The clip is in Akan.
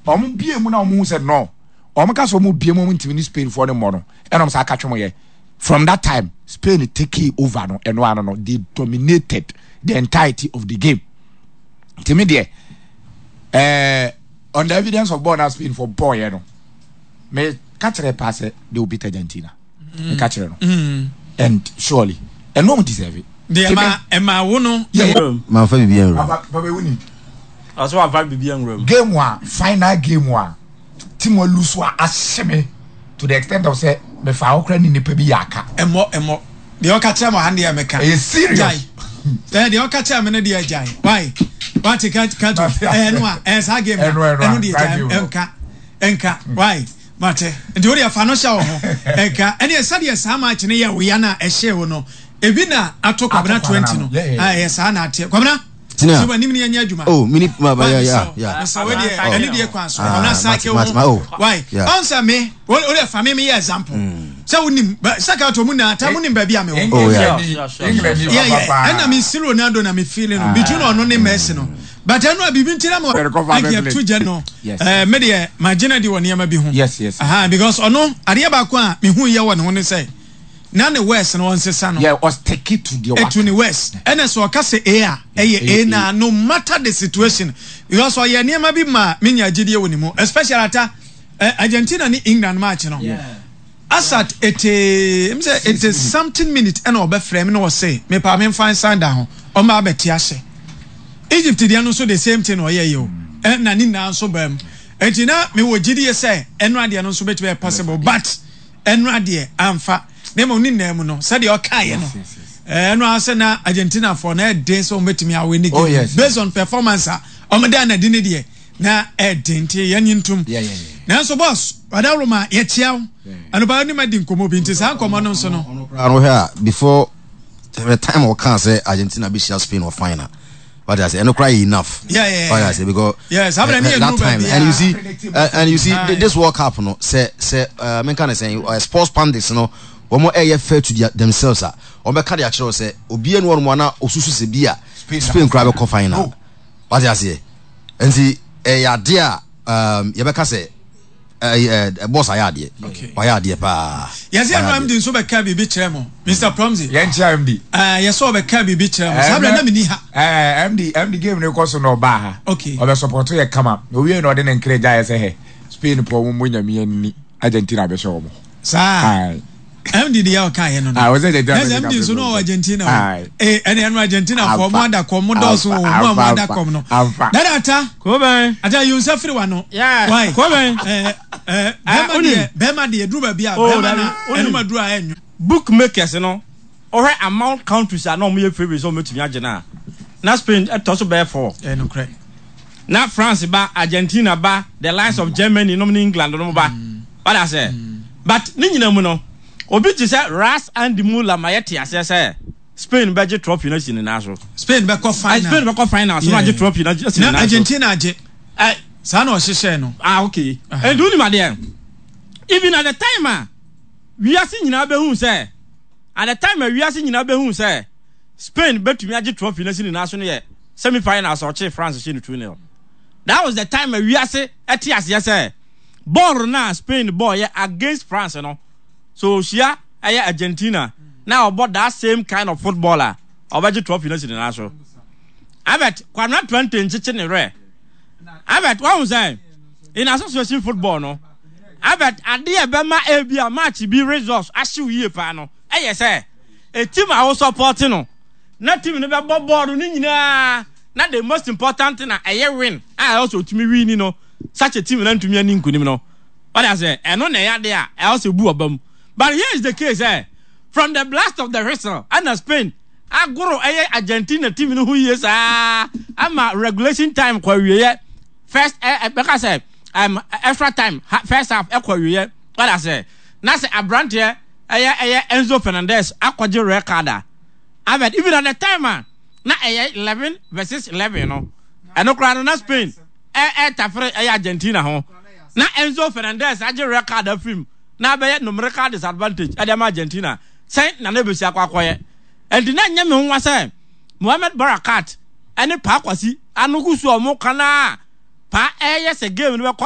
Wɔn bie mu na wɔn hu sɛ no, wɔn ka sɛ wɔn bie mu wɔn ntumi ne Spain foɔ no mmɔ no, ɛna wɔn san aka twɛ wɔn yɛ. From that time, Spain take over no, ɛno ano no, they dominated the entirety of the game. Nti mi deɛ, ɛɛ on the evidence of ball na Spain for ball yɛ no, me ka kyerɛ paa sɛ they will beat Argentina. Me ka kyerɛ no. And surely, ɛno wɔn deserve it. Deɛ ɛma ɛma wo no. Manfa biribi anwura mu. Papa ewu ni. Ɔsɛ wafa biribi anwura mu. Game a final game a team a lose a ahyɛ me to the extent of sɛ mefa ahokora ne nipa bi yɛ aka. Ɛmmɔ ɛmmɔ deɛ ɔka kyerɛ mo ha deɛ meka. Ɛyɛ serious. Gyae ɛɛ deɛ ɔka kyerɛ me no deɛ gyae why wate ka ka to ɛɛ no a ɛɛ saa game no ɛno deɛ gyae ɛnka ɛnka why mate nti wo deɛ fa no hyɛ wo ho ɛnka ɛne sɛdeɛ saa match no yɛ wo ya no a ɛhyɛ wo no ebi na ato Kwabena 20 no ɛyɛ saa na ateɛ Kwabena. Tina. Sɛ w'anim ne yɛnyɛ adwuma. Oh, mini ma ba ya ya ya. Mesɛ wo deɛ ɛne deɛ kwan so. Ɔna sa ke wo. Why? Ɔn sɛ me wo deɛ fa me me yɛ example. Sɛ wonim sɛ ka to mu na ta mu nim baabi a me wɔ. Oh yeah. Yeah yeah. Ɛna me si Ronaldo na me feeling no between ɔno ne Messi no. But ɛno a biribi nti na mo ɛkɛ to gya no. Eh me deɛ ma gyina di wɔ nneɛma bi ho. Yes yes. Aha because ɔno adeɛ baako a me hu yɛ wɔ ne ho ne sɛ na ne words no ɔnsesa no. Yeah, ɔstiki to deɛ waka. To ne words. Ɛna sɛ ɔka sɛ A a, ɛyɛ A na no matter the situation. Because ɔyɛ nneɛma bi ma menya gyidie wɔ ne mu. Especially ata eh, Argentina ne England match no. Asat ete, m sɛ ete something minute ɛna ɔbɛfrɛ me na ɔse mepa memfa nsan da ho. Ɔmba abɛte ahyɛ. Egypt deɛ no nso the same thing na ɔyɛ yɛ o. Ɛna ne nyinaa nso baa mu. Enti na mewɔ gyidie sɛ ɛno adeɛ no nso bɛtumi ayɛ possible but Ɛnora deɛ amfa, na mmom ne nyinaa mu no, sɛdeɛ ɔkaeɛ no, ɛno ara sɛ na Argentinafoɔ na ɛden sɛ wɔbɛtumi awe ne game oh, based on performance a wɔda no adi ne deɛ na ɛden nti yɛnye ntom. Nanso boss, ɔdaworo ma yɛkyia wo anɔpa wonim adi nkɔmmɔ bi nti saa nkɔmmɔ no nso no. Ɔno koraa no hwɛ a before the time ɔkaa sɛ Argentina bɛhyia Spain wɔ final What I say, ɛno koraa yɛ enough. Yeah, yeah, What I say because yeah, saa bɛrɛ ne yɛ that time and you see and you see uh, this World Cup no sɛ sɛ menka ne sɛn sports pundits no wɔn ɛyɛ fair to their, themselves a wɔn bɛka de akyerɛw sɛ obiara ni wɔn ana osusu sɛ bi a Spain koraa bɛkɔ final. What I say, nti ɛyɛ adeɛ a yɛbɛka sɛ. ɛɛ boss ayɛ adeɛ wayɛ adeɛ paa. Yɛsɛ ɛnu MD nso bɛka biribi kyerɛ mo Mr Promsy. Yɛn kyerɛ MD. Ɛɛ yɛsɛ ɔbɛka biribi kyerɛ mo saa bɛrɛ na mi ni ha. Ɛɛ MD MD game ne kɔ so na ɔbaa ha. Okay. Ɔbɛ support yɛ kama na owie na ɔde ne nkiri gya yɛ sɛ hɛ Spain pɔ wɔn mo nyame ani Argentina bɛhyɛ wɔn. Saa. MD deɛ ɔka yɛ no no. Ah, ɔsɛ Argentina. Ɛsɛ MD nso no ɔwɔ Argentina o. Ee ɛne ɛno Argentina fɔ ɔmo ada kɔm mo dɔɔso o mo a mo ada kɔm no. Dada ata. Kobɛn. Ata yi nsa firi wa no. Why? Kobɛn. Ɛɛ ɛɛ bɛrima deɛ bɛrima deɛ duru baabi a bɛrima na ɛnum aduru a ɛnyo. Bookmakers no ɔhwɛ among countries a na wɔn yɛ favourite sɛ wɔn bɛtumi agye no a na Spain ɛtɔ so bɛyɛ four. Ɛyɛ nokorɛ. Na France ba, Argentina ba, the likes of Germany nom ne England nom ba. Wate aseɛ? But ne nyina mu no, obi te sɛ Ras Andy Muller ma yɛte aseɛ sɛ Spain bɛgye trophy no asi ne nan so. Spain bɛkɔ final. Spain bɛkɔ final so na agye trophy no asi ne nan so. Na Argentina agye. Saa na ɔhyehyɛɛ no. Ah, okay. Ɛnti wonim adeɛ? Even at the time a wiase nyinaa bɛhu sɛ, at the time a wiase nyinaa bɛhu sɛ Spain bɛtumi agye trophy no asi ne nan so no yɛ semi finals a ɔkyee France hyɛ no 2-0. That was the time a wiase ɛte aseɛ sɛ bɔɔl no a Spain bɔɔyɛ against France no, sɛ ɔhyia ɛyɛ Argentina na ɔbɔ that same kind of football a, ɔbɛgye trophy no asi ne nan so. Albert, Kwabena 20 nkyekye ne werɛ. Albert, wahu sɛ in association football no, Albert, adeɛ a ɛbɛma ebi a match bi results ahyew yie paa no, ɛyɛ sɛ a team a wo support no, na team no bɛbɔ bɔɔl no nyinaa na the most important thing a ɛyɛ win a ɛwɔ sɛ otumi wini no such a team na ntumi ani nkunim no wɔde asɛ ɛno na ɛyɛ ade a ɛwɔ sɛ bu ɔba mu but here is the case ɛ from the blast of the whistle ɛna Spain agoro ɛyɛ Argentina team no ho yie saa ama regulation time kɔ awieɛ first ɛ bɛka sɛ extra time first half ɛkɔ awieɛ wɔde asɛ na sɛ aberanteɛ ɛyɛ ɛyɛ Enzo Fernandez akɔgye red card a Albert, even at the time a na ɛyɛ 11 versus 11 no, ɛno koraa no na Spain ɛretafere ɛyɛ Argentina ho. Na Enzo Fernandez agye red card afiri mu na abɛyɛ numerical disadvantage ɛde ama Argentina. Sɛn na na ebesi akɔ akɔyɛ? Ɛnti na ɛnyɛ me nwa sɛ Mohamed Barakat ɛne Paa Kwasi ano gu so a wɔn ka no a Paa ɛyɛ sɛ game no bɛkɔ.